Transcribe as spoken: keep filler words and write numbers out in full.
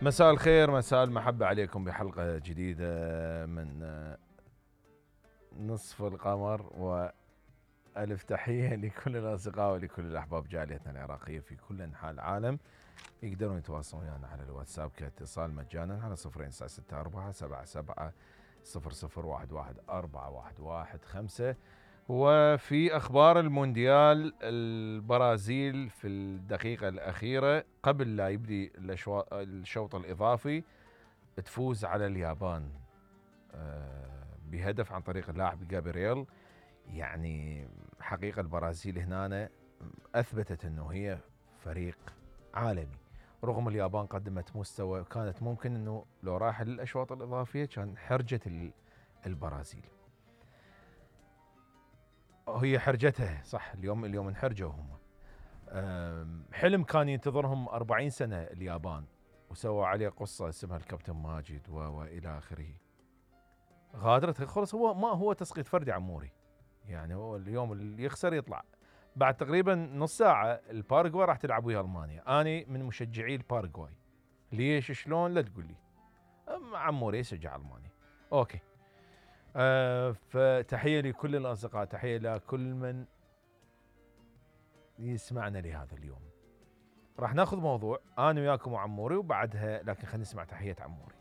مساء الخير، مساء المحبة عليكم بحلقة جديدة من نصف القمر، وألف تحية لكل الأصدقاء ولكل الأحباب جاليتنا العراقية في كل أنحاء العالم. يقدرون يتواصلون ويانا على الواتساب كاتصال مجانا على صفرين تسعة ستة أربعة سبعة سبعة صفر صفر واحد واحد أربعة واحد واحد خمسة. وفي أخبار المونديال، البرازيل في الدقيقة الأخيرة قبل لا يبدي الشوط الإضافي تفوز على اليابان بهدف عن طريق اللاعب جابرييل. يعني حقيقة البرازيل هنا أثبتت أنه هي فريق عالمي، رغم اليابان قدمت مستوى كانت ممكن أنه لو راح للأشواط الإضافية كان حرجت البرازيل. هي حرجتها صح، اليوم اليوم انحرجوا هم. حلم كان ينتظرهم أربعين سنة اليابان، وسووا عليه قصة اسمها الكابتن ماجد وإلى آخره. غادرت خلص، هو ما هو تسقيط فردي عموري، يعني هو اليوم اللي يخسر يطلع. بعد تقريبا نص ساعة الباراغواي راح تلعب ويا ألمانيا. أنا من مشجعي الباراغواي. ليش شلون لا تقول لي، عموري يشجع ألمانيا. أوكي. أه فتحية لكل الأصدقاء، تحية لكل من يسمعنا لهذا اليوم. راح ناخذ موضوع أنا وياكم وعموري وبعدها، لكن خلينا نسمع تحية عموري.